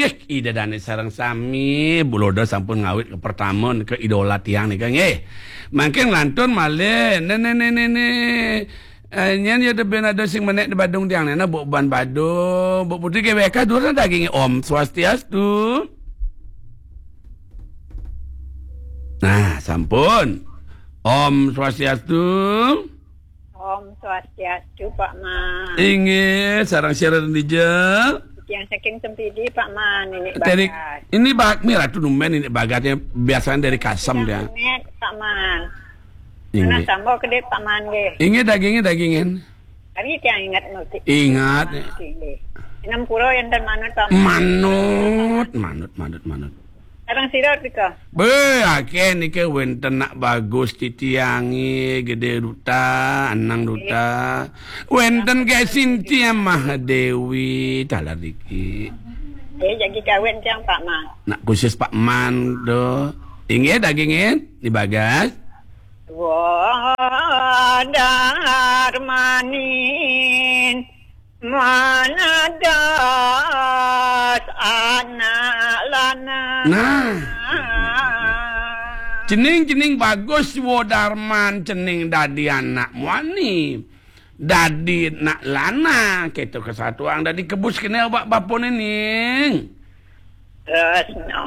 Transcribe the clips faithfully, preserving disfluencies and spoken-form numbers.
Ih, Ida Dane sareng sami, Buloda sampun ngawit ke pertama ke idola tiang nika nggih. Mangkin lantun malih, ne, ne, ne, ne, ne. Eh, nyen ya teben ada sing menek di Badung tiang nena, Buk Ban Badung, Buk Putri G W K, durus daging. Om Swastiastu. Nah, sampun. Om Swastiastu. Om Swastiastu, Pak Man. Inggih, sareng sira dija. Tiang saking Sempidi, Pak Man, ini Dari, Bagas. Ini Bak, ini Ratu Numben ini Bagasnya biasanya dari Kasem dia. Pak Man. Inggih. Nah, sambal kedip, Pak Man, nggih. Inggih, dagingnya dagingin. Tapi tiang ingat mesti. Ingat. Nggih. Enam puluh yang dan manut, Pak Man. Manut, manut, manut, manut. Sareng sira nika. Beuh, akeh niki wenten nak bagus titiange, Gede Duta, Anang Duta. Wenten ke Sintia Mahadewi, taler niki. Eh, jadi kawin tiang Pak Man. Nak khusus Pak Man do. Inggih dagingin, di Bagas. Wah, Darmanin. Manadas anak lanang. Nah. Cening, cening bagus, Wo Darman, cening dadi anak muani. Dadi anak lanang, keto kesatuan dadi kebus kene awak bapone ning. Tresna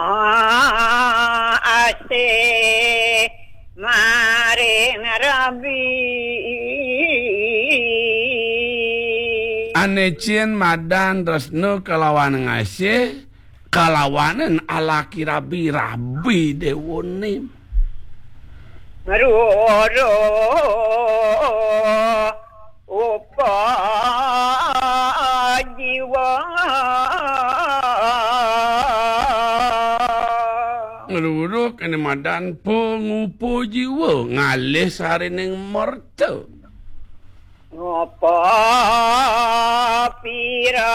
asih maring Rabi. Ane cien madan tresna kalawan ngasih, kalawanen alaki Rabi, Rabi Dewa Nim. Ruruh upa jiwa. Ngeluruh kene madan pengupa jiwa, ngalih sarining merta. Ngopo pira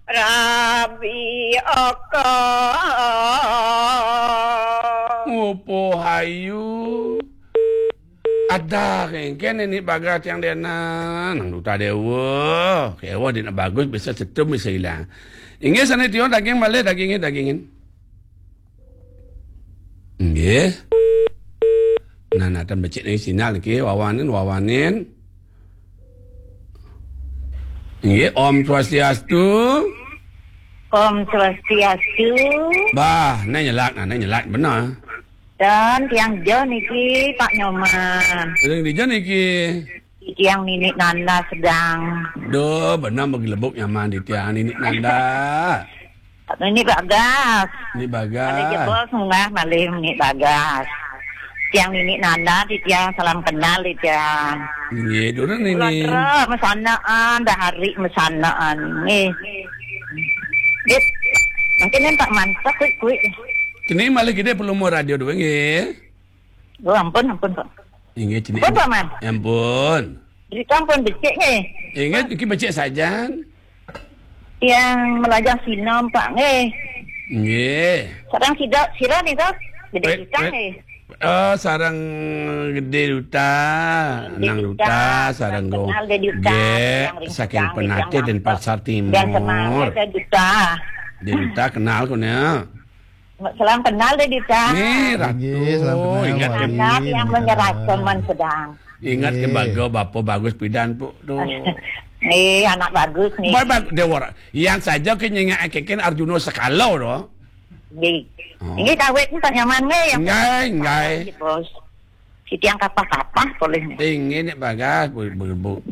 rabi aka. Ngopo hayu. Ada kengken ini bagas yang dena nang duta dewa. Kewa dina bagus bisa setum bisa hilang. Inggih sane tion daging malih dagingin dagingin. Nggih. Nah, nah, tan becik niki sinyal niki, wawanin, wawanin. Nggih, Om Swastiastu. Om Swastiastu. Bah, nang nyelak, nah, nang nyelak benar. Dan tiang jo niki, Pak Nyoman. Sering dija niki. Tiang Nini Nanda sedang. Duh, benar begelebuk nyaman di tiang Nini Nanda. Nini Bagas. Nini Bagas. Ada jebol sungai malih Nini Bagas. Tiang Nini Nanda di tiang salam kenal di tiang. Nggih, durus Nini. Kula mesanaan, dah hari mesanaan. Nggih. Dit. Mungkin tak mantap kuik-kuik. Kini malih gede perlu mau radio dua nggih. Oh, ampun, ampun, Pak. Inggih, cenik. Ampun, Pak Man. Ampun. Berita ampun becik nggih. Inggih, iki becik sajan. Yang melajah sinom, Pak, nggih. Nggih. Sareng sida, sira nika, Gede Wait, Duta wait. Nggih. Oh, sareng Gede Duta, Gede Nang Duta, Duta, sareng kenal Gede Duta, nggih, yang ring saking sedang, Penatih yang dan Pasar Timur. Dan kenal Gede Duta. Gede Duta kenal kone. Salam kenal deh, Dita. Nggih, Ratu. Nggih, salam kenal, ingat Wali, yang Dita. Menyerah teman sedang. Ingat ke Nggih. Baga bapa bagus pidan, Pu, tu. Nggih, anak bagus nih. Baik, baik, Dewara. Yang saja ke nyengak keken Arjuna sekala, tu. Nggih. Oh. Ini kawit ni tak nyaman, nggih, yang Nggih, nggih. Bos. Si tiang kapah-kapah boleh nih. Inggih, nek bagas, Bu, Bu, Bu.